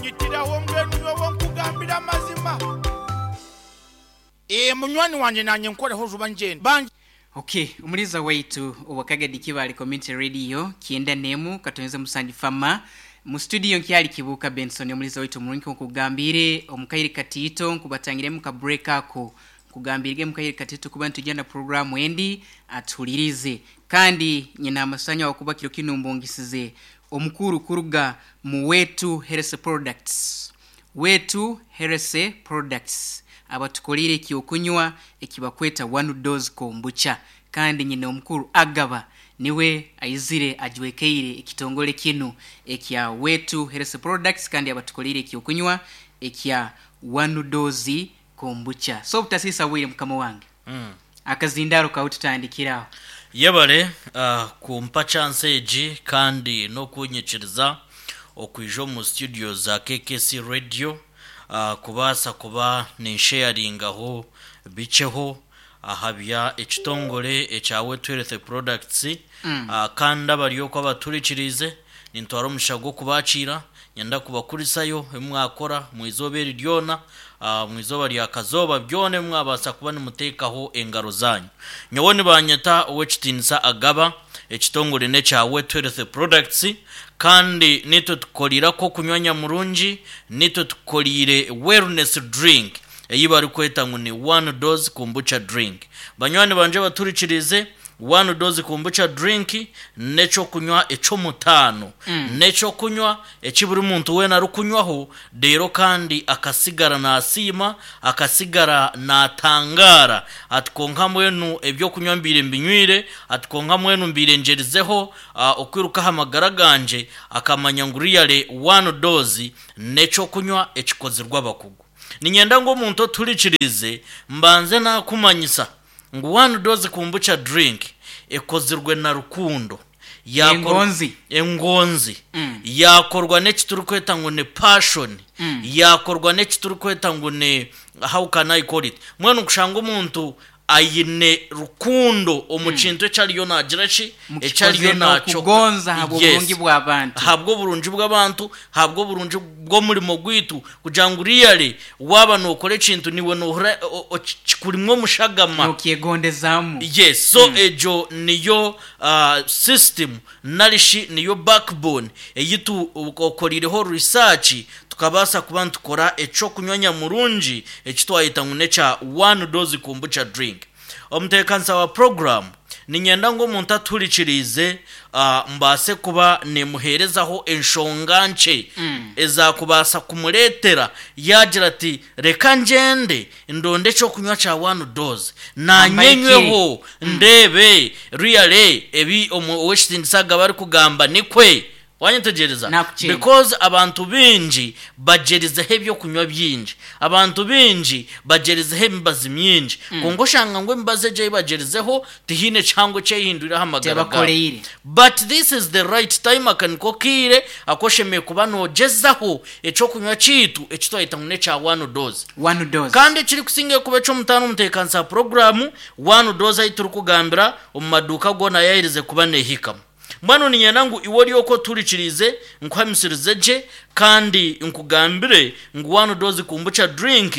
Onyitiraho mbwenu nyowe nkugambire amazima. Eeh munywani wangye nanye nkoreho juba ngyende. Bangye. Ok, omuliza waitu owa Kagadi Kibaale Community Radio 91 katonze musanju fama mu studio nkyali Kibuuka Benson omuliza waitu omurungi nkokugambiire omu kaire katiito nkubatangiremu ka break ako nkugambiirege mu kaire katiito kuba nitwija na program endi atuhulirize kandi nyine amasanyu ahabw'okuba kiro kinu mbungisize omukuru kuruga mu Wetu Health Products Wetu Health Products abatukoreire eky'okunywa ekibakweta One Dose Kombucha kandi nyine omukuru Agaba niwe aizire ajwekeire ekitongore kinu ekya Wetu Health Products kandi abatukoreire eky'okunywa ekya One Dose Kombucha. So obutasiisa bwire mukama wange, akazindaaro kawe tutandikire aho. Yebare kumpa chance egi kandi n'okunyikiriza okwija omu studio za KKC Radio kubaasa kuba ninsheyaringaho bikyeho aha bya ekitongore ekya Wetu Health Products kandi abari okwo abaturikiriize nintwara omugisha gw'okubakiira Nyenda kubakurisayo ebi mwakora omu izooba eri ryona, omu izooba rya kazooba, byona ebi mwabaasa kuba nimuteekaho engaro zaanyu. Nyowe nibaanyeta Ow'ekitiinisa Agaba, ekitongore n'ekya Wetu Health Products, kandi naitwe tukukoriire ak'okunywa nyamurungi, naitwe tukukoriire wellness drink ei barikweta ngu ni One Dose Kombucha Drink. Banywani bangye abaturikiriize, One Dose Kombucha Drink n'eky'okunywa eky'omutaano. N'eky'okunywa eki buri muntu weena arikunywaho reero kandi akasigara naasiima, akasigara naatangaara ati kwonka mbwenu eby'okunywa mbaire mbinywire, ati kwonka mbwenu mbaire ngyerizeho okwiruka aha magara gangye, akamanya ngu really One Dose n'eky'okunywa ekikozirwe abakugu. Niinyenda ngu omuntu otuhurikiriize mbanze naakumanyisa ngu One Dose Kombucha Drink ekozirwe na rukundo, Engonzi. Engonzi. Yaakorwa n'eki turikweta ngu ni passion, yaakorwa n'eki turikweta ngu ni how can I call it? Mbwenu kushanga omuntu aine rukundo omu kintu eki ariyo naagira ki? Eki ariyo Mukikoze naakyo. n'okugonza ahabw'oburungi Yes. bw'abantu. Ahabw'oburungi bw'abantu, ahabw'oburungi bw'omurimo gwaitu, kugira ngu really waaba nookora ekintu naiwe noohurira kikurimu omushagama. Nookyegondezaamu. Yes, so egyo niyo system nari shi niyo backbone ei tukoreireho research tukabaasa kuba nitukora eky'okunywa nyamurungi eki twayeta ngu n'ekya One Dose Kombucha Drink. Omuteekanisa wa puroguraamu, niinyenda ngu omuntu atuhurikiriize mbaase kuba niimuheerezaho enshonga nkye ezaakubaasa kumureetera yaagira ati, Reka ngyende ndonde eky'okunywa kya One Dose naanye nyweho ndeebe really ebi ow'ekitiinisa Agaba arikugamba nikwe. Wanyetegyereza? Nakukyenda. Because abantu baingi bagyerizeho eby'okunywa bingi. Abantu baingi bagyerizeho emibazi mingi. Kwonka oshanga ngu emibazi egyo ei bagyerizeho tihaine kihango eki ehindwire aha magara gaabo. Tebakoreire. But this is the right time, aka niko kaire aku oshemereire kuba noogyezaho eky'okunywa kyaitu eki twayeta ngu n'ekya One Dose. One Dose. Kandi ekirikusingayo kuba eky'omutaano omu ntebeekanisa ya puroguraamu, One Dose ahu turikugambira omu maduuka goona yaaherize kuba neehikamu. Mbwenu niinyenda ngu iwe ori okwo otuhurikiriize, nkuhamisirize gye kandi nkugambire ngu One Dose Kombucha Drink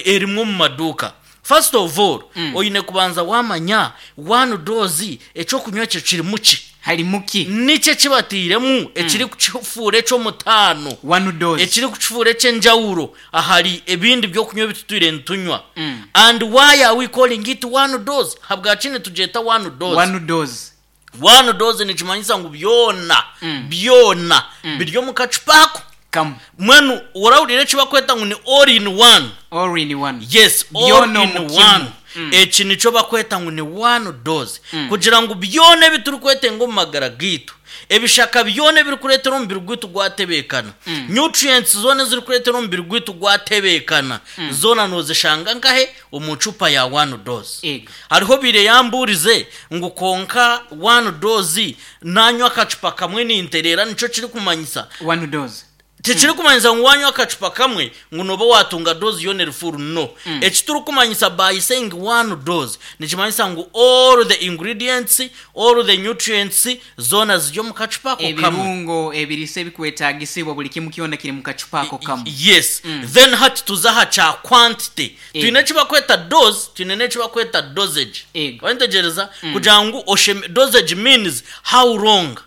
erimu omu maduuka. First of all, oine kubanza waamanya One Dose eky'okunywa ekyo kirimu ki? Harimu ki? Niki eki batairemu ekirikukifuura eky'omutaano, One Dose. ekirikukifuura eky'enjawulo ahari ebindi by'okunywa ebi tutwire nitunywa? And why are we calling it One Dose? Habwaki nitugyeta One Dose? One Dose. One dose nikimanyisa ngu byona byona biri omu kacupa ako. Kamu. Mbwenu orahurira eki bakweta ngu ni all in one. All in one. Yes, all Byona in omu one. kimu. Eki nikyo bakweta ngu ni one dose. Kugira ngu byona ebi turikwetenga omu magara gaitu, ebishaka byona ebirikureetera omubiri gwaitu gwatebeekana, nutrients zoona ezirikureetera omubiri gwaitu gwatebeekana, zoona noozishanga nkahe? Omu cupa ya one dose. Ego. Hariho obaire yambuurize ngu kwonka one dose nanywa akacupa kamwe nintereera nikyo kirikumanyisa? One dose. Tikirikumanyisa ngu wanywa akacupa kamwe ngu nooba waatunga dose yoona eri full, no. Eki turikumanyisa by saying one dose, nikimanyisa ngu all the ingredients, all the nutrients zoona ziri omu kacupa ako kamwe. Ebirungo, ebiriisa ebikwetaagisibwa buri kimwe kyona kiri mu kacupa ako kamwe. Yes. Then hati tuze aha kya quantity. Twine eki barikweta dose, twine n'eki barikweta dosage. Ego. Wayetegyereza? Kugira ngu osheme, dosage means how long,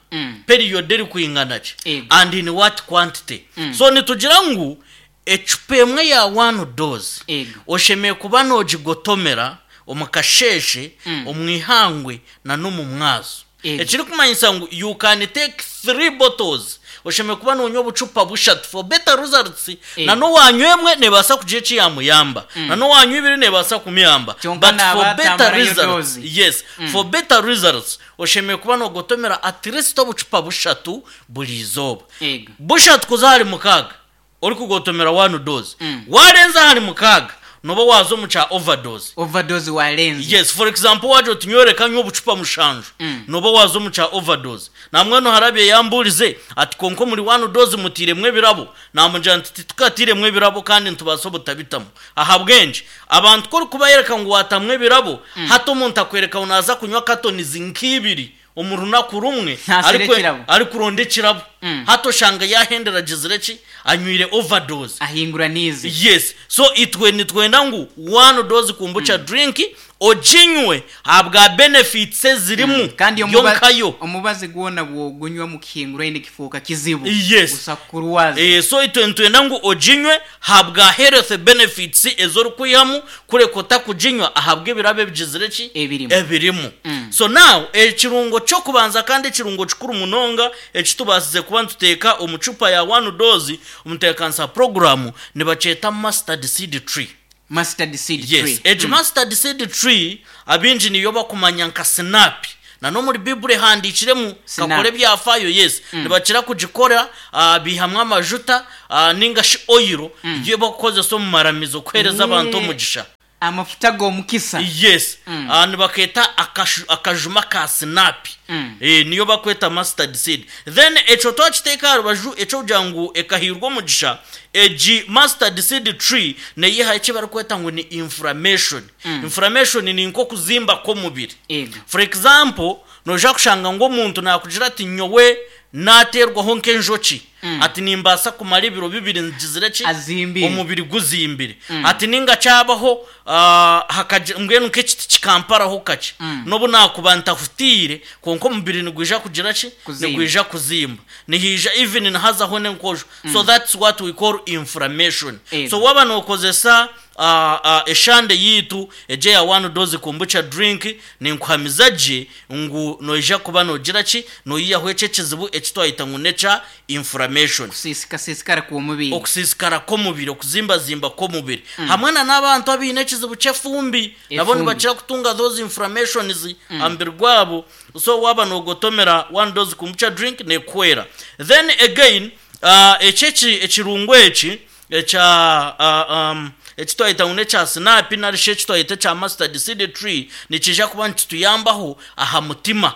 period erikwingana ki, Ego. and in what quantity. So nitugira ngu ecupa emwe ya one dose Ego. oshemereire kuba noogigotomera omu kasheeshe, omu ihangwe na n'omu mwazo. Ego. Ekirikumanyisa ngu you can take 3 bottles, oshemereire kuba noonywa obucupa bushatu for better results. Ego. Na n'owaanywa emwe neebaasa kugira eki yaamuyamba, na n'owaanywa ibiri neebaasa kumuyamba. Kyonka But naaba for better atamarayo results, dose. yes, for better results oshemereire kuba noogotomera at least obucupa bushatu buri izooba. Ego. Bushatu kuza ahari mukaaga orikugotomera one dose. Waarenza ahari mukaaga nooba waaza omu kya overdose. Overdose waarenza. Yes, for example waagira oti nyowe reka nywe obucupa mushanju, nooba waaza omu kya overdose. Nambwenu hariho abaire yambuurize ati kwonka omuri one dose mutairemu ebirabo? Naamugira nti titukatairemu ebirabo kandi nitubaasa obutabitamu. Ahabw'enki? Abantu ku orikubayereka ngu waatamu ebirabo, hati omuntu akwereka ngu naaza kunywa katonizi nk'ibiri omu runaku rumwe Naasera ekirabo. arikuronda ekirabo. Hati oshanga yaahendera agizire ki? Anywire overdose. Ahinguraniize. Yes. So itwe nitwenda ngu one dose kombucha drink oginywe ahabwa benefits ezirimu Kandi yo omuba- nkayo. omubazi gwona bw'ogunywa omu kihinguraine kifuuka kizibu. Yes. Gusa kukurwaza. So itwe nitwenda ngu oginywe ahabwa health benefits ezi orikwihamu kureka otakuginywa ahabw'ebirabo ebigizire ki? Ebirimu. Ebirimu. So now ekirungo ky'okubanza kandi ekirungo kikuru munonga eki tubaasize kuba nituteeka omu cupa ya one dose omu ntebeekanisa puroguraamu nibakyeta mustard seed tree. Mustard seed Yes, tree. egi mustard seed tree abaingi niyo bakumanya nka sinaapi. Na n'omuri Baiburi ehandiikiremu Sinaapi. kakora ebyafaayo yes. Nibakira kugikora baihamu amajuta ninga shi oil ei bakukozesa omu maramizo kuheereza abantu omugisha. Amafuta g'omukisa. Yes. Nibakeeta akajuma ka sinaapi. Niyo bakweta mustard seed. Then ekyo twakiteeka aha rubaju eky'okugira ngu ekahairwa omugisha, egi mustard seed tree neyihaho eki barikweta ngu ni inflammation. Inflammation ni nk'okuzimba kw'omubiri. Ego. For example, noija kushanga ngu omuntu naakugira ati nyowe naateerwaho nk'enjoki, ati nimbaasa kumara ebiro bibiri ngizire ki? Azimbire. Omubiri guzimbire. Ati ninga kyabaho hakagira mbwenu nk'ekiti kikamparaho kakye, n'obu naakuba ntahutiire, kwonka omubiri nigwija kugira ki? Kuzimba. Nigwija kuzimba. Nihaija even nihazaho n'enkojo. So that's what we call inflammation. Ego. So waaba nookozesa Eshande yaitu egi eya One Dose Kombucha Drink ninkuhamiza gye ngu noija kuba noogira ki? Noihaho eki ekizibu eki twayeta ngu n'ekya inflammation. Okusiisikasiisikara kw'omubiri. Okusiisikara kw'omubiri, okuzimbazimba kw'omubiri. Hamwe na n'abantu abaine ekizibu ky'efumbi, nabo Efumbi. nibakira kutunga those inflammations aha mubiri gwabo. So waaba noogotomera One Dose Kombucha Drink neekuhwera. Then again, eki ekirungo eki Ekya eki twayeta ngu n'ekya sinaapi nari shi eki twayeta ekya mustard seed tree nikiija kuba nikituyambaho aha mutima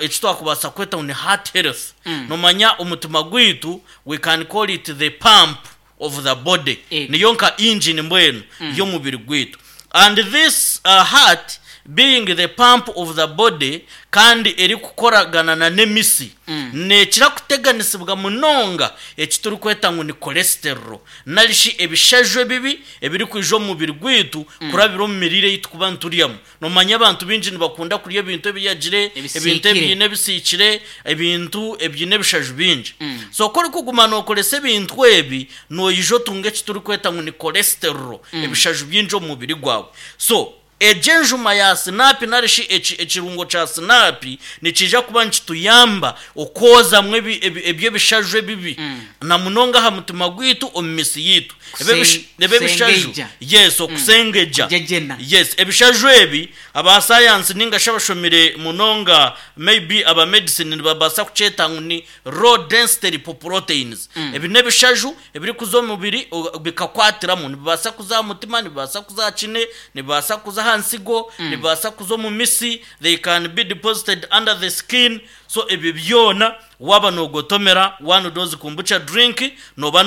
eki twakubaasa kweta ngu ni heart health. Noomanya omutima gwaitu we can call it the pump of the body, niyo nka engine mbwenu y'omubiri gwaitu. And this heart being the pump of the body kandi erikukoragana na n'emisi, neekira kuteganisibwa munonga eki turikweta ngu ni cholesterol nari shi ebishaju ebibi ebirikwija omu mubiri gwaitu kurabira omu miriire ei turikuba nituryamu. Noomanya abantu baingi nibakunda kurya ebintu ebiyagire, ebintu Ebisiikire. ebiine ebisiikire, ebintu ebiine ebishaju bingi. So ku orikuguma nookoresa ebintu ebi, noija otunga eki turikweta ngu ni cholesterol, ebishaju bingi omu mubiri gwawe. So egi enjuma ya sinaapi nari shi eki ekirungo kya sinaapi nikiija kuba nikituyamba okwozamu ebi ebi eby'ebishaju ebibi na munonga aha mutima gwaitu omu misi yaitu. Ebi ebish ebi ebishaju Kusengeija. yes okusengegya. Kugyegyena. Yes ebishaju ebi aba sayansi ninga shi abashomire munonga maybe aba medicine nibabaasa kukyeta ngu ni Low density lipoproteins. Ebi n'ebishaju ebirikuza omu mubiri bikakwatiramu. Nibibaasa kuza aha mutima, nibibaasa kuza aha kine, nibibaasa kuza aha. aha nsigo, nibibaasa kuza omu mitsi, they can be deposited under the skin, so ebyo byona waaba noogotomera one dose kombucha drink nooba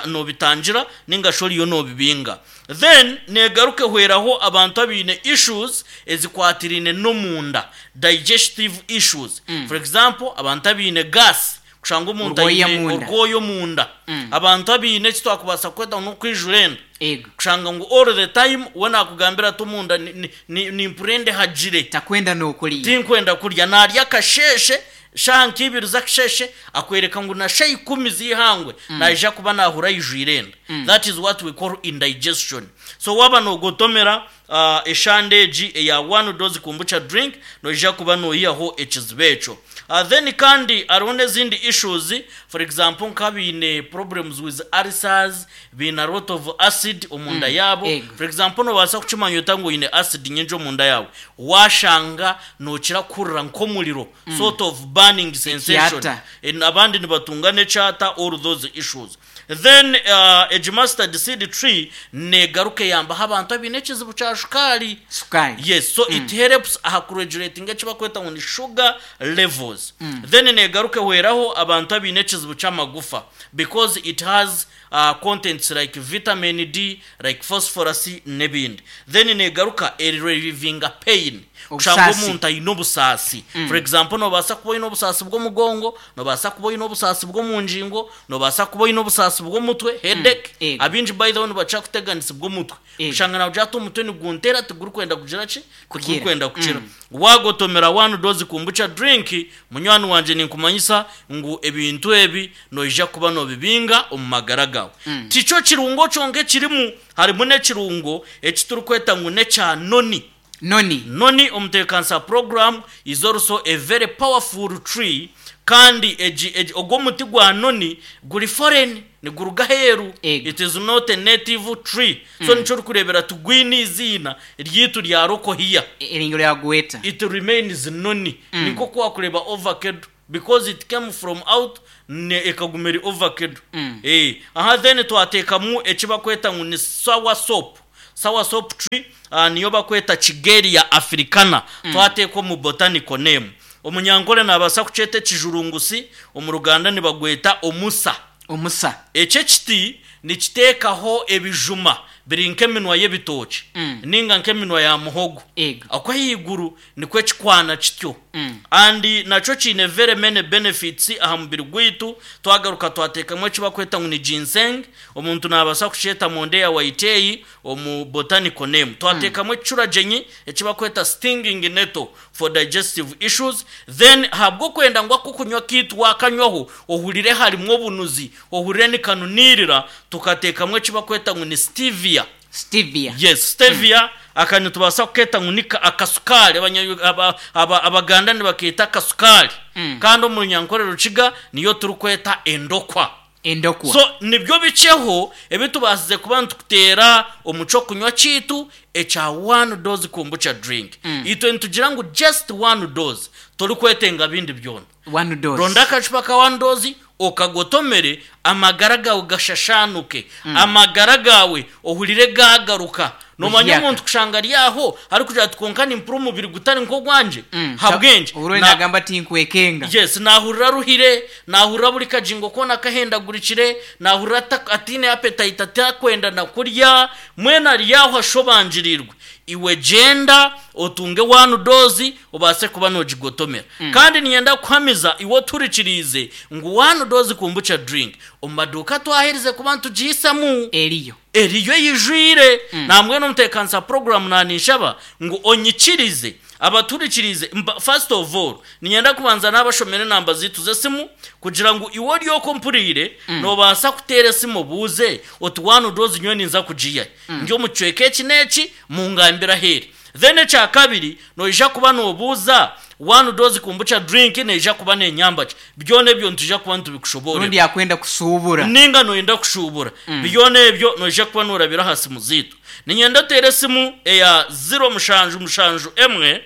noobitangira ninga shi oriyo noobibinga. Then neegaruka ehweraho abantu abaine issues ezikwatiraine n'omunda, digestive issues, for example abantu abaine gas, Kushanga omuntu Orwoya aine munda. orwoya omunda. Abantu abaine eki twakubaasa kweta ngu n'okwijura enda. Ego. Kushanga ngu all the time we naakugambira ati omunda ni- ni- ni- nimpurira endihagire. Takwenda n'okurya. Tinkwenda kurya. Naarya akasheeshe, shaaha nk'ibiri z'akasheeshe, akwereka ngu na shaaha ikumi z'eihangwe naija kuba naahurira aijwire enda. That is what we call indigestion. So waaba noogotomera eshande egi eya one dose kombucha drink, noija kuba noihaho ekizibu ekyo. Then kandi hariho n'ezindi issues, for example nk'abaine problems with ulcers, baine a lot of acid omunda yaabo. Ego. For example nobaasa kukimanya ota ngu oine acid nyingi omunda yaawe? Waashanga nookira kuhurira nk'omuriro, sort of burning sensation. Ekyata. Abandi nibatunga n'ekyata, all those issues. Then egi mustard seed tree negaruka eyambaho abantu abaine ekizibu kya shukaari. Shukaari. Yes, so it helps aha ku regulatinga eki bakweta ngu ni sugar levels. Then negaruka ehweraho abantu abaine ekizibu ky'amagufa because it has contents like vitamin D, like phosphorus n'ebindi. Then negaruka e relivinga pain. Kushanga Obusaasi. omuntu aine obusaasi. For example nobaasa kuba oine obusaasi bw'omugongo, nobaasa kuba oine obusaasi bw'omu ngingo, Noobaasa kuba oine obusaasi bw'omutwe, headache. Ego. Abaingi by the way nibakira kuteganisibwa omutwe. Ego. Kushanga naagira ati omutwe nigunteera tigurikwenda kugira ki? Kukira. Tigurikwenda kukira. Waagotomera one dose kombucha drink, munywani wangye ninkumanyisa ngu ebintu ebi noija kuba noobibinga omu magara gaawe. Tikyo kirungo kyonka ekirimu, harimu n'ekirungo eki turikweta ngu n'ekya noni. Noni. Noni omutebeekanisa program is also a very powerful tree kandi egi egi ogu omuti gwa noni guri foreign niguruga aheeru Ego. it is not a native tree so nikyo orikureebera tigwine eiziina ryaitu rya local here Eringo ryagweta. it remains noni ni nk'oku wakureeba ovacado because it came from out ne ekaguma eri ovacado eh aha then twateekamu eki bakweta ngu ni sour sop Sour sop tree niyo bakweta Kigelia africana twateeka omu botanical name. Omunyankore nabaasa kukyeta ekijurungusi, omu Ruganda nibagweta omusa. Omusa. Eki ekiti nikiteekaho ebijuma biri nk'eminwa y'ebitookye ninga nk'eminwa ya muhogo. Ego. Okwo ahaiguru Nikwo kikwana kityo. And nakyo kiine very many benefits aha mubiri gwaitu. Twagaruka twateekamu eki bakweta ngu ni ginseng, omuntu naabaasa kukyeta Mondeya whitei omu botanical name. Twateekamu ekicuragyenyi eki bakweta stinging nettle for digestive issues. Then ahabw'okwenda ngu ak'okunywa kaitu waakanywaho ohurire harimu obunuzi, ohurire nikanuniirira, tukateekamu eki bakweta ngu ni stevia. Stevia. Yes, stevia aka nitubaasa kukeeta ngu ni akasukaari. Abaganda nibakeeta akasukaari. Kandi omu Runyankore Rukiga niyo turikweta endokwa. Endokwa. So nibyo bikyeho ebi tubaasize kuba nitukuteera omu ky'okunywa kyaitu ekya one dose kombucha drink. Itwe nitugira ngu just one dose, torikwetenga bindi byona. One dose. Ronda akacupa ka one dose okagotomere amagara gaawe gashashaanuke, amagara gaawe ohurire gaagaruka. Noomanya Buhyaka. omuntu kushanga ari aho arikugira ati kwonka nimpurira omubiri gutari nk'ogwangye? Habw'enki? Oburo Na- nagamba ati nkwekenga. Yes, naahurira aruhire, naahurira buri kagingo koona kahendagurikire, naahurira ata- ataine appetite atakwenda na kurya, mbwenu ari aho ashobangiriirwe. Iwe gyenda otunge one dose obaase kuba noogigotomera. Kandi niinyenda kukuhamiza iwe otuhurikiriize ngu one dose kombucha drink omu maduuka twaherize kuba nitugihisamu. Eriyo. Eriyo eijwire. Nambwenu omuteekanisa puroguraamu naaninshaba ngu onyikirize abatuhurikiriize mba first of all niinyenda kubanza naabashomera enamba zaitu z'esimu kugira ngu iwe ori okwo ompuriire noobaasa kuteera esimu obuuze oti one dose nyowe ninza kugiihahi? Ndi omu kicweka eki n'eki, mungambire ahu eri. Then ekya kabiri, noija kuba noobuuza, one dose kombucha drink neija kuba nenyamba ki? Byona ebyo nitwija kuba nitubikushoboorera. Rundi akwenda kushuubura. Ninga noyenda kushuubura. Byona ebyo noija kuba noorabira aha simu zaitu. Niinyenda oteere esimu eya ziro mushanju mushanju emwe,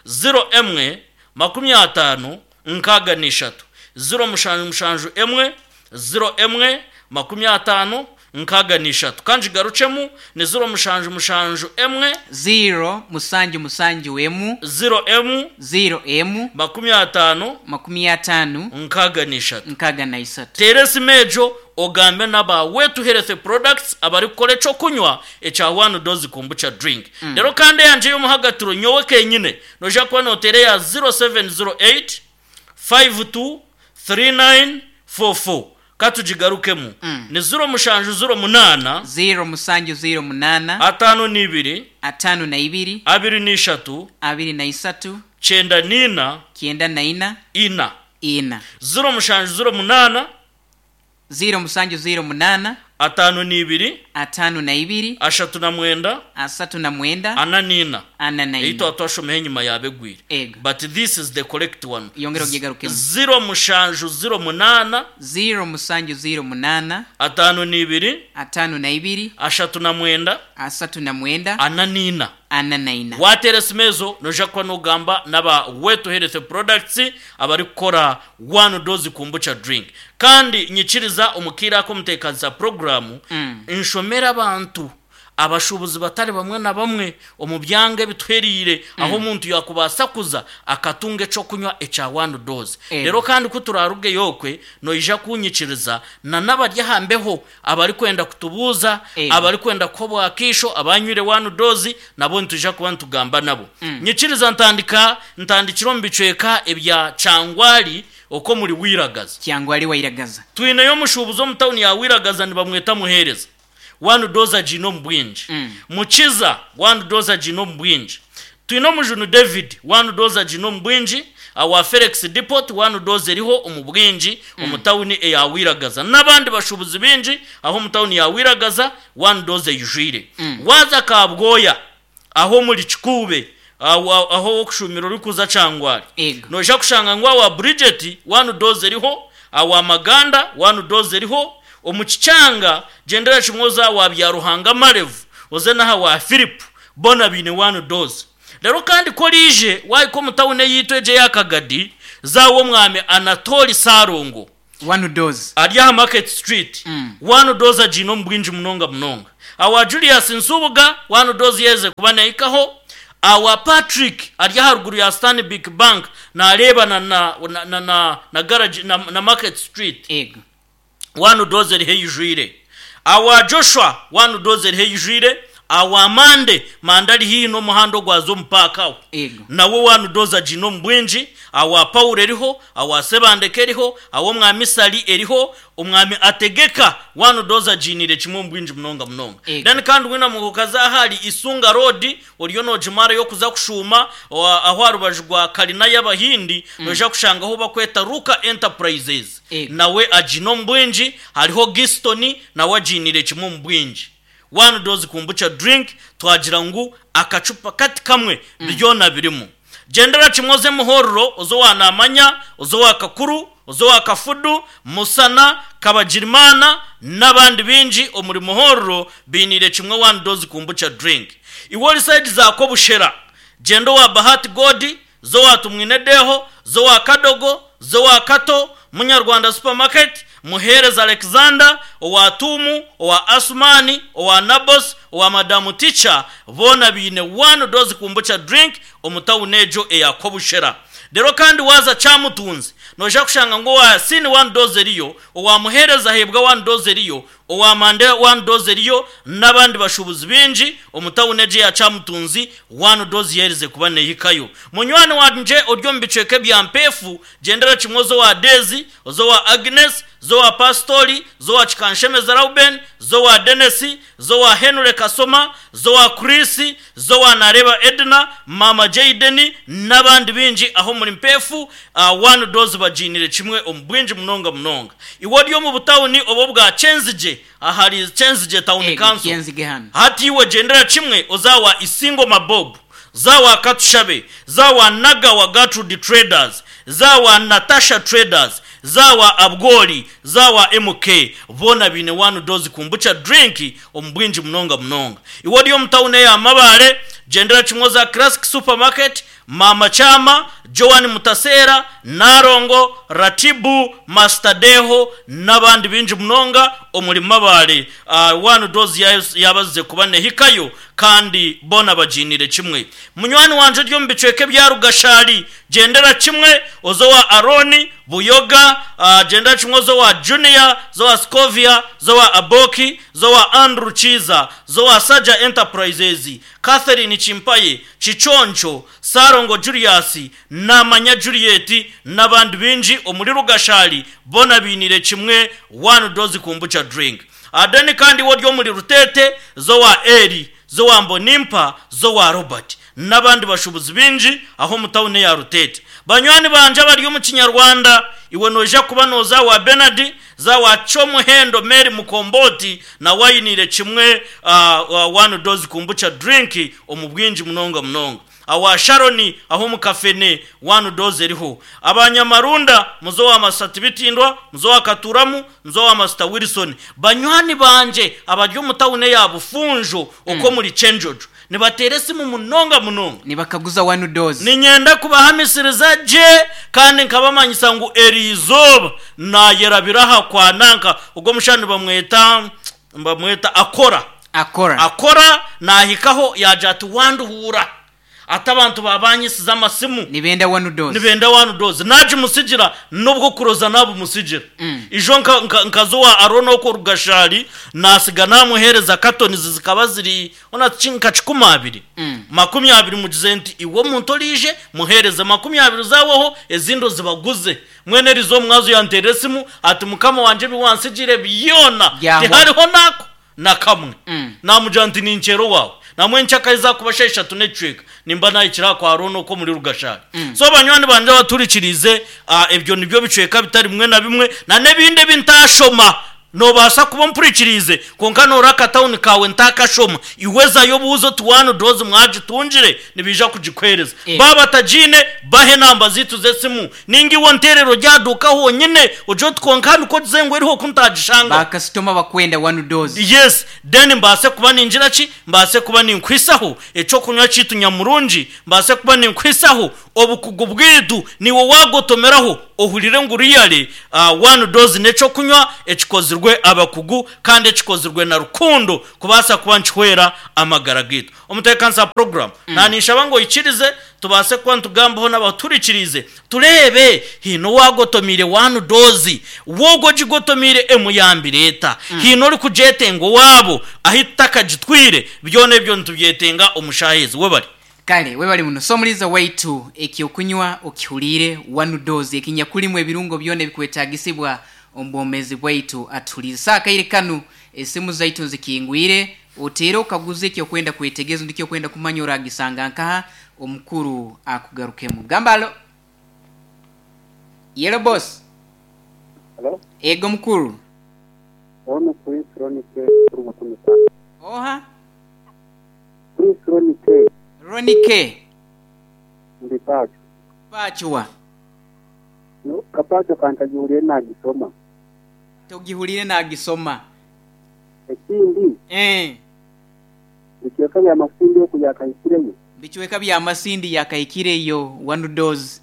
ziro emwe, 50, 63. Ziro mushanju mushanju emwe, ziro emwe, 50, 63. Ka ngigarukyemu, ni ziro mushanju mushanju emwe. Ziro musanju musanju emu. Ziro emu. Ziro emu. 50. 50. 63. 63. Teera esimu egyo ogambe n'aba Wetu Health Products abarikukora eky'okunywa ekya One Dose Kombucha Drink. Reero kandi eyangye ey'omuhagatiro nyowe kenyine noija kuba nooteera eya 0708 52 39 44. Ka tugigarukemu. Ni 0708. 0708. 52. 52. 23. 23. 94. 94. 4. 4. 0708. 0708. 52. 52. 39. 39. 44. 44. Ei twaba twashomaho enyima yaaba egwire. Ego. But this is the correct one. Yongera ogigarukemu. 0708. 0708. 52. 52. 39. 39. 44. 44. Waateera esimu ezo noija kuba noogamba n'aba Wetu Health Products abarikukora One Dose Kombucha Drink. Kandi nyikiriza omu kaire aka omuteekanisa puroguraamu nshomere abantu abashuubuzi batari bamwe na bamwe omu byanga ebituhereire ahu omuntu yaakubaasa kuza akatunga eky'okunywa ekya One Dose. Reero kandi ku turaarugeyo okwe noija kuunyikiriza na n'abari aha mbeho abarikwenda kutubuuza, abarikwenda kuha obwakaisho abanywire One Dose nabo nitwija kuba nitugamba nabo. Nyikiriza ntandika ntandikire omu bicweka ebya Kyangwali okwo omuri Wiragaza. Kyangwali Wairagaza. Twineyo omushuubuzi omu tawuni ya Wiragaza nibamweta Muheereza. One Dose agiine omu bwingi. Mukiza, One Dose agiine omu bwingi. Twine Omujuni David, One Dose agiine omu bwingi. Awa Felix Depot, One Dose eriho omu bwingi omu tawuni eya Wiragaza. N'abandi bashuubuzi baingi aho omu tawuni ya Wiragaza, One Dose eijwire. Waaza Kabwoya, aho omuri Kikuube, aho ow'okushuumira orikuza Kyangwali, noija kushanga ngu awa Bridget, One Dose eriho, awa Maganda, One Dose eriho, omu Kikyanga, gyendera kimwe oze awa Byaruhanga Marevu, oze n'aha wa Philip, boona baine One Dose. Reero kandi ku oraije waahika omu tawuni eyaitu egyo eya Kagadi, za aw'omwami Anatoli Ssalongo. One Dose. Ari aha Market Street. One Dose agiine omu bwingi munonga munonga. Awa Julius Nsubuga, One Dose yaherize kuba nahikaho. Awa Patrick ari aharuguru ya Stanbic Bank nareebana na na na na garage na na Market Street. Ego. One Dose eriho eijwire. Awa Joshua, One Dose eriho eijwire. Awa Mande, Mande ari haihi n'omuhanda ogwaza omu paaka aho. Ego. Nawe One Dose agiine omu bwingi. Awa Paulo eriho, awa Sebandeke eriho, aw'Omwami Sali eriho, Omwami Ategeka, One Dose agiiniire kimwe omu bwingi munonga munonga. Ego. Then kandi weena mukaza ahari Isunga Road, oriyo noogimarayo kuza kushuuma aho aha rubaju rwa kalina y'Abahindi, noija kushanga ahu bakweta Ruka Enterprises. Ego. Nawe agiine omu bwingi, hariho Giston nawe agiiniire kimwe omu bwingi. One Dose Kombucha Drink twagira ngu akacupa kati kamwe byona birimu. Gyendera kimwe oze Muhorro, oze owa Namanya, oze owa Kakuru, oze owa Kafudu, Musana, Kabagirimana n'abandi baingi omuri Muhorro bainiire kimwe One Dose Kombucha Drink. Iwe ori sayidi za Kobushera, gyenda owa Bahati Godi, Zowa Tumwine Deho, Zowa Kadogo, Zowa Kato, Munyarwanda Supermarket, Muheereza Alexander, owa Tuumu, owa Asumani, owa Nabos, owa Madamu Teacher, boona baine One Dose Kombucha Drink omu tawuni egyo eya Kobushera. Reero kandi waaza Kyamutunzi, noija kushanga ngu owa Yasini One Dose eriyo, owa Muheereza Aheebwa One Dose eriyo, Owa Mande One Dose eriyo n'abandi bashuubuzi baingi omu tawuni egi eya Kyamutunzi One Dose yaherize kuba neehikayo. Munywani wangye ori omu bicweka ebya Mpeefu, gyendera kimwe oze owa Deezi, oze owa Agnes, ze owa Pasitori, ze owa Kikanshemeza Rauben, ze owa Denesi, ze owa Henry Kasoma, ze owa Chris, ze owa Nareeba Edna, Maama Jayden n'abandi baingi aho omuri Mpeefu. One Dose bagiinire kimwe omu bwingi munonga munonga. Iwe ori omu butawuni obu obwa Kyenzigye, ahari Kyenzigye Town Ego, Council, Kyenzige hanu. hati iwe gyendera kimwe oze awa Isingo Mabob, za awa Katushabe, za awa Nagawa Gertrude Traders, za awa Natasha Traders, za awa Abwoli, za awa MK, boona baine One Dose Kombucha Drink omu bwingi munonga munonga. Iwe ori omu tawuni eya Mabaale, gyendera kimwe oze aha Classic Supermarket, Maama Kyama, Joan Mutaseera, Nalongo, Ratibu, Master Deho n'abandi baingi munonga omuri Mabale. One Dose yaabazize kuba nehikayo kandi boona bagiiniire kimwe. Munywani wangye ori omu bicweka ebya Rugashari, gyendera kimwe oze owa Arooni, Buyoga, gyendera kimwe oze owa Junior, oze owa Scovia, oze owa Aboki, oze owa Andrew Kiiza, oze owa Saja Enterprises, Catherine Kimpaye, Kiconco, Ssalongo Julius, Namanya Juliet n'abandi baingi omuri Rugashari boona bainiire kimwe One Dose Kombucha Drink. Then kandi iwe ori omuri Rutete, z'owa Eli, z'owa Mbonimpa, z'owa Robert n'abandi bashuubuzi baingi aho omu tauni eya Rutete. Banywani bangye abari omu Kinyarwanda, iwe noija kuba nooza owa Bernard, za owa Kyomuhendo Mary Mukomboti nawe ainiire kimwe One Dose Kombucha Drink omu bwingi munonga munonga. Awa Sharoni aho omu Kafene one dose eriho. Aba Nyamarunda muze owa Masita Tibitindwa, muze owa Katuramu, muze owa Masita Wilson. Banywani bangye abari omu tawuni eya Bufunjo okwo omuri Kyenjojo nibateera esimu munonga munonga. Nibakaguza one dose. Niinyenda kubahamisiriza gye kandi nkabamanyisa ngu eri izooba naayerabira aha kwa nanka ogwo omushaija nibamweta Nibamweta Akora. Akora. Akora naahikaho yaagira ati, Wanduhuura. Ati abantu baabanyisiza amasimu. Nibenda one dose. Nibenda one dose. Naagimutsigira n'obw'okuroza naabumutsigira. Ijo nka, nka, nkaza owa Arooni okwo Rugashari, naatsiga naamuheereza katonizi zikaba ziri hoona ki nka kikumaabiri. Makumyabiri mugize nti, Iwe omuntu oraije, muheereze makumyabiri zaaweho, ezindi ozibaguze. Mbwenu eriizooba omwazi yanteerera esimu ati, Mukama wangye ebi wantsigiire byona Byahwa. tihariho n'ako na kamwe. Naamugira nti, Ninkyera owaawe. Namwe nkyakahi zaakuba shaaha ishatu n'ekicweka nimba naahikire aha kwa Roona okwo omuri Rugashari. So banywani bangye abaturikiriize, ebyo nibyo bicweka bitari bimwe na bimwe na n'ebindi ebi ntaashoma. Noobaasa kuba ompurikiriize, kwonka noora akatawuni kaawe ntaakashoma. Iwe zayo obuuze oti One Dose mwagitungire? Nibaija kugikuheereza. Baaba batagiine, bahe enamba zaitu z'esimu. Nainga iwe onteerere ori aha duuka honyine, ogire oti kwonka hanu ku ogize ngu eriho ku ntagishanga. Baakasitoma bakwenda One Dose. Yes, then mbaase kuba ningira ki? Mbaase kuba ninkuhisaho eky'okunywa kyaitu nyamurungi, mbaase kuba ninkuhisaho Obukugu bwaitu niiwe waagotomeraho ohurire ngu really one dose n'eky'okunywa ekikozirwe abakugu kandi ekikozirwe na rukundo kubaasa kuba nikihwera amagara gaitu. Omuteekanisa wa puroguraamu naaninshaba ngu oikirize tubaase kuba nitugambaho n'abatuhurikiriize tureebe haine owaagotomeire one dose. W'ogwo ogigotomeire emuyambire eta? Haine orikugyetenga owaabo ahi tutakagitwire? Byona ebyo nitubyetenga omu shaaha ezi. Webare. Kale webale muno. So omuliiza waitu, eky'okunywa okihuriire, one dose, ekinyakulimu ebirungo byona ebikwetaagisibwa omu bwomeezi bwaitu. Atuhuliize. So akaire kanu esimu zaitu nzikingwire, oteere okaguze eky'okwenda kwetegereza rundi eky'okwenda kumanya oragisanga nkaha, omukuru akugarukemu. Gamba alo. Yelo boss. Hello? Ego mukuru. Ono Prince Ronnie K kuruga Kumita. Oha? Prince Ronnie K. Ronnie K. Ndi Pacho. Pacho wa? No, Kapacho kantagihuliire nagisoma. Togihuliire nagisoma. Ekindi. Eeh. Bicweka bya Masindi oku yakahikireyo. Bicweka bya Masindi yakahikireyo one dose.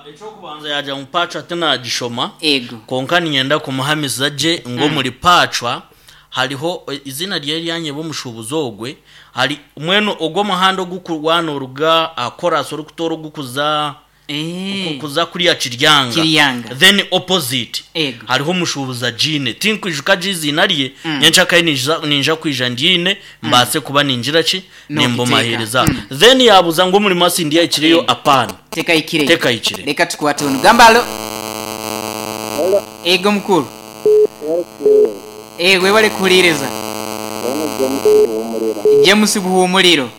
Eky'okubanza yaagira ngu Paachwa tinaagishoma, Ego. kwonka niinyenda kumuhamiza gye ngu omuri Paachwa hariho eiziina rye ryanyeba omushuubuzi ogwe, hari mbwenu ogwo omuhanda oguku waaba nooruga aha koraasi orikutoora ogukuza Eh. kuza kuriya Kiryanga, Kiryanga. then opposite Ego. hariho omushuubuzi agiine tinkwijuka gye eiziina rye, nyencakare niija niija kwija ngiine mbaase kuba ningira ki Nookiteeka. nimbumaheereza. Then yaabuuza ngu omuri Masindi yahikireyo apaana. Tekahikire. Tekahikire. Leka tukwate onu. Gamba alo. Hello. Ego mukuru. Yes. Eh, webale kuhuriiriza. Ono James Buhumuriro. James Buhumuriro.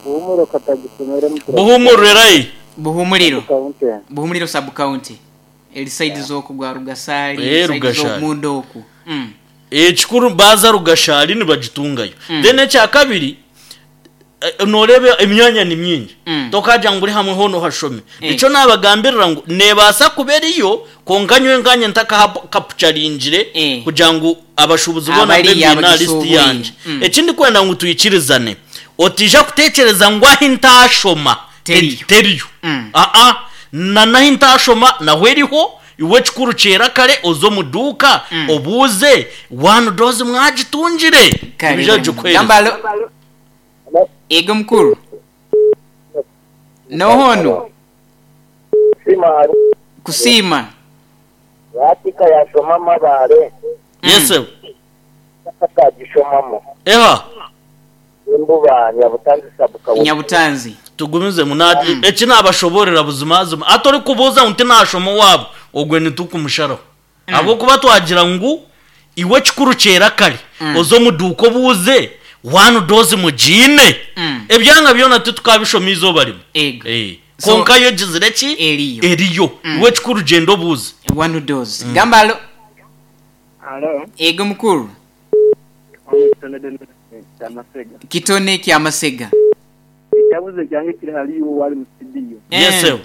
Buhumuriro katagisomere mutura. Buhumuriro ai. Buhumuriro. County. Buhumuriro sub county. Eri side z'oku gwa Rugasari, Eh, side Rugashari. z'omunda oku. Mm. Ekikuru baaza Rugashari nibagitungayo. Then ekyakabiri Nooreeba emyanya ni mingi, tokaagira ngu buri hamwe hoona ohashome. Nikyo naabagambirira ngu neebaasa kuba eriyo, kwonka nyowe nkaanye ntakahakapucharingire kugira ngu abashuubuzi boona mbe Abariyo mbaine aha lisiti abagisuubwire. yangye. Eki ndikwenda ngu twikirizane, otaija kuteekyereza ngu ahi ntaashoma. Teriyo. Teriyo. Mm. Aa, na nahi ntaashoma naho eriho, iwe ekikuru kyera kare oze omu duuka obuuze one dose mwagitungire? Kare Nibaija bano. kugikuheereza. Gamba alo. Ego mukuru. Noha onu? Kusiima. Lwatika yashoma Mabare. Yes sebo. Takagishomamu. Eha. Embuba Nyabutanzi sub county. Nyabutanzi. Tugumizemu na eki nabashoboorera buzimazima hati orikubuuza ngu tinashoma owaabo ogwe nitukumusharaho ahabw'okuba twagira ngu iwe ekikuru kyera kare oze omu duuka obuuze one dose mugiine ebyanga byona titukabishoma eizooba rimwe. Ego. Eh, So- kwonka yo egizire ki? Eriyo. Eriyo. Iwe ekikuru gyenda obuuze. One dose. Gamba alo. Alo, Ego mukuru. Kitone Denis Kyamasega. Kitone Kyamasega. Ekyabuzo kyange kiri hali iwe owali mu studio. Yes Eh. sebo.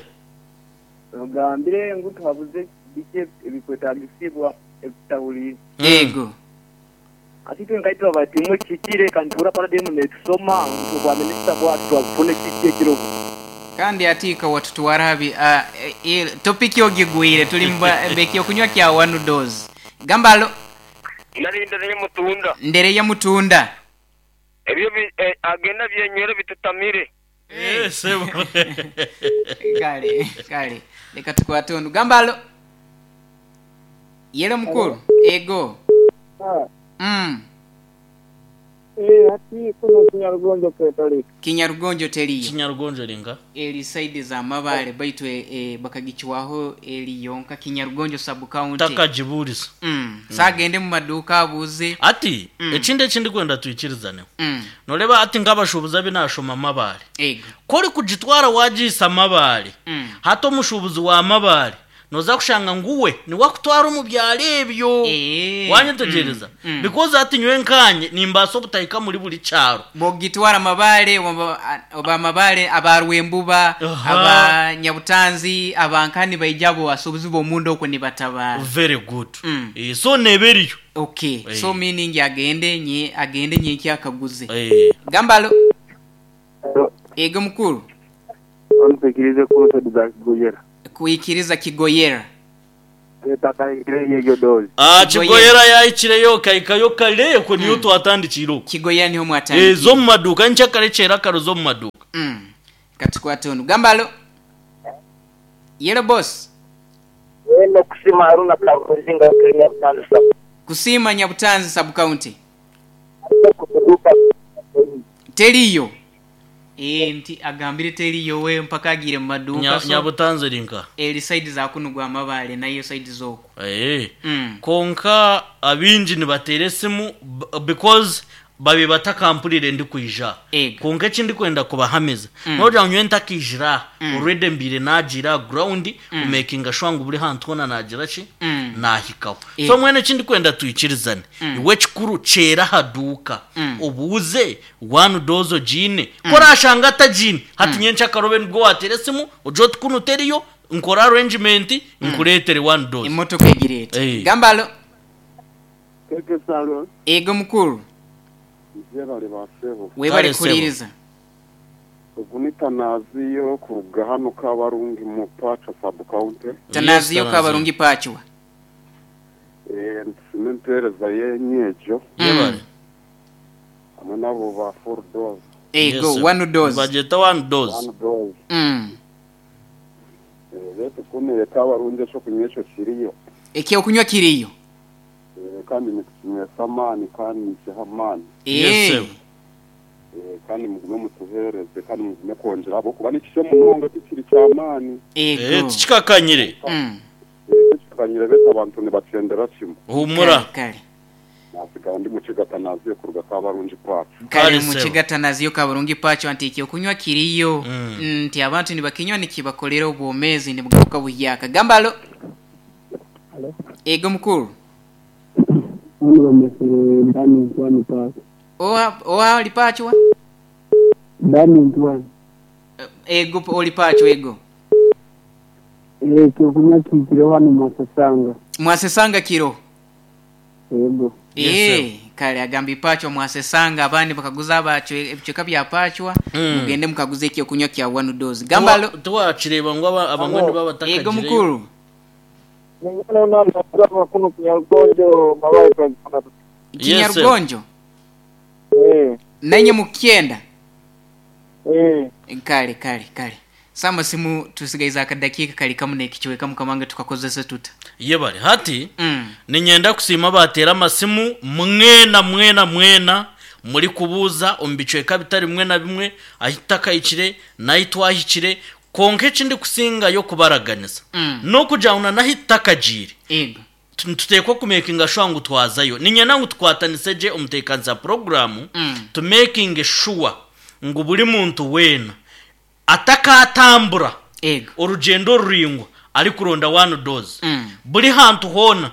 Ogambire ngu tuhabuze biki ebikwetagisibwa ebitutahuliire. Ego. Hati itwe nkaitwe bati imwe kihikire kandi tuhurra parade enu netusoma ngu obwa minisita bwatu twabufuna kiki ekiroho. Kandi atiika watutwara habi topic ogigwire tuli mbekyokunywa kya one dose. Gamba alo. Nari ndere mutunda. Ndere ya mutunda. Ebyo agenda byenywere bitutamire. Eh, sebo. Kale, kale. Leka tukwate onu. Gamba alo. Yelo mukuru. Ego. Hati kuno Kinyarugonjo ketalika. Kinyarugonjo teriyo. Kinyarugonjo ringa? Eri side za Mabale baitu bakagichwaho eri yonka Kinyarugonjo sub county. Takagiburiza. Sagende mu maduka abuze. Ati ekindi ekindi kwenda twikirizaneho. Noreba ati nk'abashubuzi abi nashoma Mabale. Ego. Ku orikugitwara wagiisa Mabale. Hati omushubuzi wa Mabale noza kushanga ngu we niwe akutwara omu byaro ebyo. Wanyetegyereza? Because hati nyowe nkanye nimbaasa obutahika muri buri kyaro. Bwogitwara Mabale, oba Mabale, aba Rwembuba, aba Nyabutanzi, aba Nkani baija abo basuubuzi b'omunda okwo nibatabara. Very good. So neeba eriyo. Okay. So meaning agende nye, agende nyenkya akaguze. Gamba alo. Ego mukuru. Ontekirize kuno side za Kigoyera. Kuikiriza Kigoyera. Etakahikire eyo dozi. Kigoyera yahikireyo kahikayo kare okwo niyo twatandikire okwo. Kigoyera niho mwatandikire. Zo mu maduuka nkya kare kyera kare zo mu maduuka. Katukwate onu. Gamba alo. Yellow boss. Weno kusima Haruna Karuzinga Nyabutanzi sub. Kusima Nyabutanzi sub county. Teriyo. Nti agambire teriyo we mpaka agire mu maduuka. Nyabutanzi rinka. Eri side za kuno gwa Mabale nayo side zoko. Konka abingi nibatera esimu because babe batakampurire ndi kwija. Konka eki ndikwenda kubahamiza. Nogira ngu nyowe ntakijira already mbire nagira ground kumakinga sure ngu buri hantu hoona nagira ki? Nahikaho. So mwene eki ndikwenda twikirizane. Iwe ekikuru kyera aha duuka. Obuuze one dose ogiine. Ku orashanga atagiine, hati nyenkya akarobe nibwo wateera esimu ogire oti kunu teriyo, nkore arrangement nkureetere one dose. Emotoka egireete. Gamba alo. Keke Salo. Ego mukuru. Mwebale ba sebo. Webale kuhuriiriza. Ogu ni Tanaziyo kuruga hanu Kabarungi mu Pacho sub county. Tanaziyo Kabarungi Pacho. Nitusiima empeereza yenyu egyo. Yebale. Hamwe n'abo ba four dose. Ego, one dose. Bagyeta one dose. One dose. Beitu kunu Kabarungi ekyokunywa ekyo kiriyo. Ekyokunywa kiriyo. Kandi nitukinywesa amaani kandi nikiha amaani. Yes, sir. Kandi mugume mutuheereze kandi mugume kwongyera ahabw'okuba nikisya munonga tikiri ky'amaani. Ego. Tikikakanyire. Tikikakanyire beitu abantu nibakyendera kimwe. Humura. Kare. Nasigara ndi Mukiga Tanaziyo kuruga Kabarungi Pacho. Kare Mukiga Tanaziyo Kabarungi Pacho nti ekyokunywa kiriyo. Nti abantu nibakinywa nikibakorera obwomeezi nibugaruka buhyaka. Gamba alo. Alo. Ego mukuru. Hano bamesere Dani Ntwani Pacho. Oha, oha oli Pacho wa? Dani Ntwani. Ego oli Pacho ego. Ekyokunywa kihikire hano Mwasesanga. Mwasesanga kiro. Ego. Kale agamba ipachwa mwasesanga abandi bakaguza abacwe ebicweka bya pachwa mugende mukaguza ekyokunywa kya one dose. Gamba alo. Tiwakireba ngu abamwe nibo Ego abatakagireyo. mukuru. Yes, sir. Kinyarugonjo. Nanye mukyenda. Kale kale kale. Sama simu tusigaiza akadakiika kali kamu n'ekicweka mukamanga tukakozesa tuta. Yebare hati ninyenda kusiima abateera amasimu mwena mwena mwena muri kubuuza omu bicweka bitari bimwe na bimwe ahi tutakahikire n'ahi twahikire kwonka eki ndikusingayo kubaraganisa n'okugira ngu na n'ahi tutakagiire Ego. Nituteekwa kumekinga sure ngu twazayo. Niinyenda ngu tukwatanise gye omuteekanisa wa puroguraamu tumekinge sure ngu buri muntu weena atakaatambura Ego. orugyendo ruraingwa arikuronda one dose. Buri hantu hoona,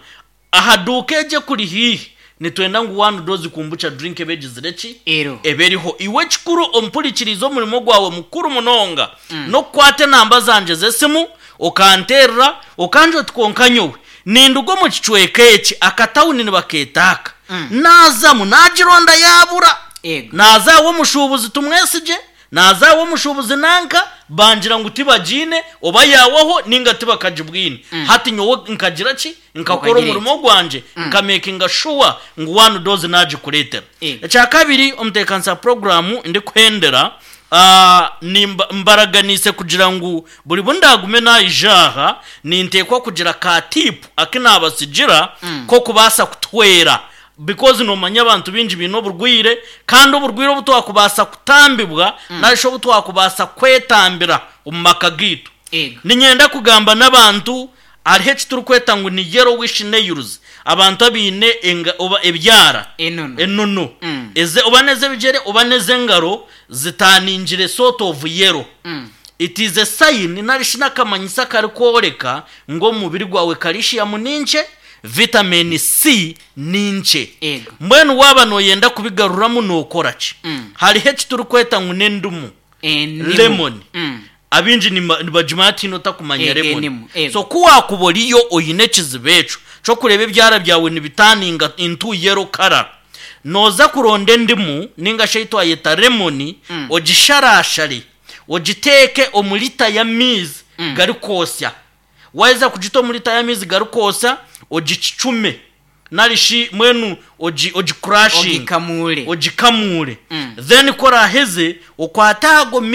aha duuka egyo ekuri haihi, nitwenda ngu one dose kombucha drink ebe egizire ki? Eriho. Ebe eriho. Iwe ekikuru ompurikirize omurimo gwawe mukuru munonga n'okukwata enamba zangye z'esimu okanteerera okangira oti kwonka nyowe ninduga omu kicweka eki akatawuni nibakeeta aka naazamu naagironda yaabura. Ego. Naaza aw'omushuubuzi tumwesigye, naaza aw'omushuubuzi nanka, bangira ngu tibagiine, oba yaawaho nainga tibakagibwine. Hati nyowe nkagira ki? Nkakora Okagira omurimo gwangye, nkamekinga shuwa ngu one dose naagikureetera. Ego. Ekyakabiri, omuteekanisa wa puroguraamu ndikuhendera, nimba, mbaraganiise kugira ngu buri bu ndaagume naija aha, ninteekwa kugira ka tipu aku naabatsigira k'okubaasa kutuhwera. Because nomanya abantu baingi baine oburwaire kandi oburwaire obu twakubaasa kutambibwa nari shi obu twakubaasa kwetambira omu maka gaitu. Ego. Niinyenda kugamba n'abantu hariho eki turikweta ngu ni yellowish nails, abantu abaine enga oba ebyara Enono. enono eze oba n'ez'ebigyere oba n'ez'engaro zitaaningire sort of yellow. It is a sign nari shi n'akamanyiso akarikworeka ngu omu mubiri gwawe calcium ni nkye, vitamin C ni nkye. Ego. Mbwenu waaba nooyenda kubigaruramu nookora ki? Hariho eki turikweta ngu n'endimu, Endimu. lemon. Abaingi nibagimanya tihaine otakumanya Ego, lemon. endimu, ego. So ku waakuba oriyo oine ekizibu ekyo ky'okureeba ebyara byawe nibitaninga into yellow colour, nooza kuronda endimu nainga shi ei twayeta lemon ogisharashare, ogiteeke omu lita y'amaizi garikwotsya. Waaheza kugita omu lita y'amaizi garikwotsya, ogicucume nari shi mbwenu ogi ogikurashinge. Ogikamuure. Ogikamuure. Then ku oraaheze, okwate ago.